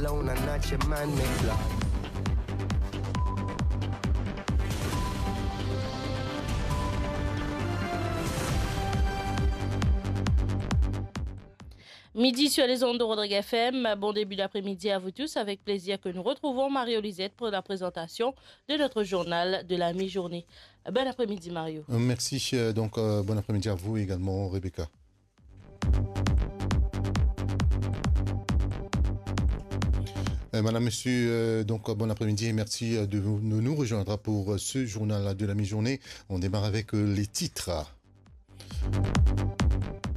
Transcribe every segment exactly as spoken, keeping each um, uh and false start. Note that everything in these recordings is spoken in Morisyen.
Alone and not your man make love. Midi sur les ondes de Rodrigue F M. Bon début d'après-midi à vous tous. Avec plaisir que nous retrouvons Mario Lisette pour la présentation de notre journal de la mi-journée. Bon après-midi, Mario. Euh, merci. Euh, donc, euh, bon après-midi à vous également, Rebecca. Euh, madame, monsieur, euh, donc, euh, bon après-midi et merci, euh, de vous, de nous rejoindre pour, euh, ce journal de la mi-journée. On démarre avec, euh, les titres.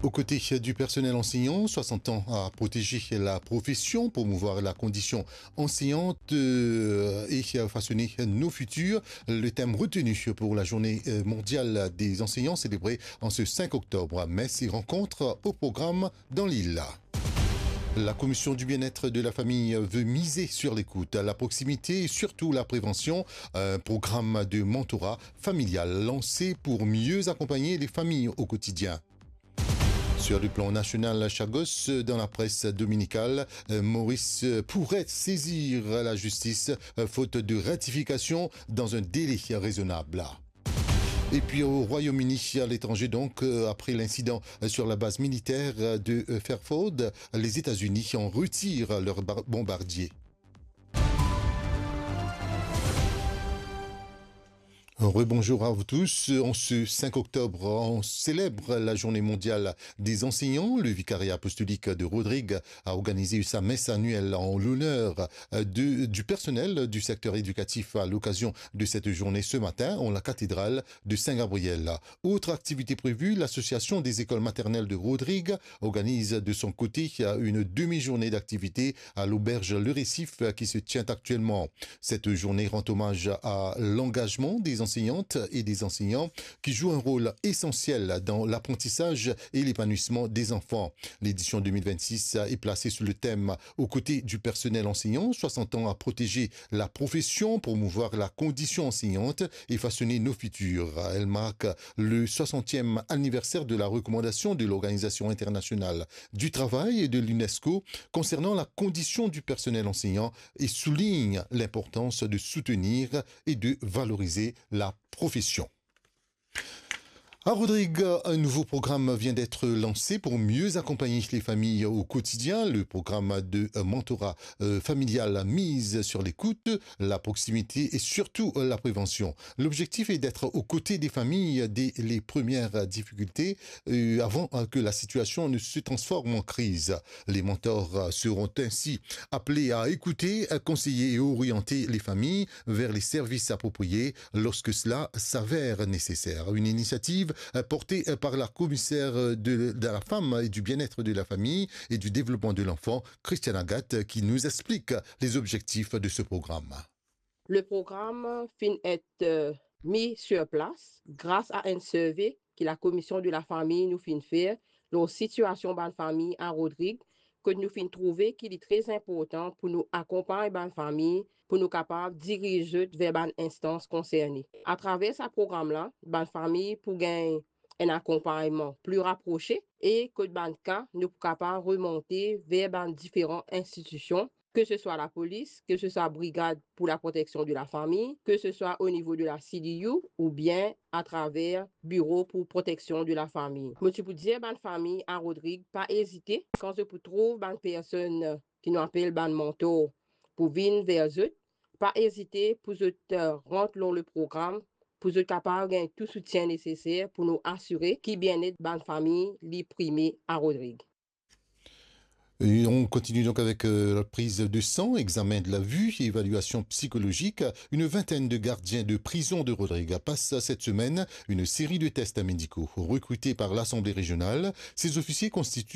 Aux côtés du personnel enseignant, soixante ans à protéger la profession, promouvoir la condition enseignante, euh, et façonner nos futurs. Le thème retenu pour la journée, euh, mondiale des enseignants célébrée en ce cinq octobre. Messes et rencontres au programme dans l'île. La commission du bien-être de la famille veut miser sur l'écoute, la proximité et surtout la prévention. Un programme de mentorat familial lancé pour mieux accompagner les familles au quotidien. Sur le plan national, Chagos, dans la presse dominicale, euh, Maurice pourrait saisir la justice, euh, faute de ratification dans un délai raisonnable. Et puis au Royaume-Uni, à l'étranger donc, euh, après l'incident, euh, sur la base militaire, euh, de, euh, Fairford, les États-Unis en retirent leurs bar-, bombardiers. Rebonjour à vous tous. En ce cinq octobre, on célèbre la journée mondiale des enseignants. Le vicariat apostolique de Rodrigue a organisé sa messe annuelle en l'honneur, euh, de, du personnel du secteur éducatif. À l'occasion de cette journée, ce matin, en la cathédrale de Saint-Gabriel. Autre activité prévue, l'association des écoles maternelles de Rodrigue organise de son côté une demi-journée d'activité à l'auberge Le Récif qui se tient actuellement. Cette journée rend hommage à l'engagement des enseignantes et des enseignants qui jouent un rôle essentiel dans l'apprentissage et l'épanouissement des enfants. L'édition deux mille vingt-six est placée sous le thème « Aux côtés du personnel enseignant, soixante ans à protéger la profession, promouvoir la condition enseignante et façonner nos futurs ». Elle marque le soixantième anniversaire de la recommandation de l'Organisation internationale du travail et de l'UNESCO concernant la condition du personnel enseignant et souligne l'importance de soutenir et de valoriser la profession. À Rodrigue, un nouveau programme vient d'être lancé pour mieux accompagner les familles au quotidien. Le programme de, euh, mentorat, euh, familial mise sur l'écoute, la proximité et surtout, euh, la prévention. L'objectif est d'être aux côtés des familles dès les premières difficultés, euh, avant, euh, que la situation ne se transforme en crise. Les mentors, euh, seront ainsi appelés à écouter, à conseiller et orienter les familles vers les services appropriés lorsque cela s'avère nécessaire. Une initiative, euh, portée, euh, par la commissaire, euh, de, de la femme et du bien-être de la famille et du développement de l'enfant, Christiane Agathe, qui nous explique les objectifs de ce programme. Le program finn et, euh, mis sur place gras a enn serve ki Lakomision de Lafami nou finn fer lor sitiasion bann fami a Rodrig, kot nou finn trouve ki li tre inportan pou nou akonpagn bann fami, pou nou kapav diriz zot ver bann instans konserne. Atraver sa program la, bann fami pou gagn enn akonpagnman pli raprose e kot bann ka nou pou kapav remonte ver bann diferan institision, ke se swa lapolis, ke se swa brigad pou laproteksion de lafami, ke se swa o nivo de la C D U oubien atraver biro pou proteksion de lafami. Mo ti pou dir bann fami a Rodrig, pa ezite, kan zot pou trouv bann personn ki nou apel bann mentor pou vinn ver zot, pa ezite pou zot, eh, rant lor le program, pou zot kapav gagn tou soutien neseser pou nou asire ki bienet bann fami li prime a Rodrig. Et on continue donc avec, euh, la prise de sang, examen de la vue, évaluation psychologique. Une vingtaine de gardiens de prison de Rodrigue passent cette semaine une série de tests médicaux. Recrutés par l'Assemblée régionale, ces officiers constituent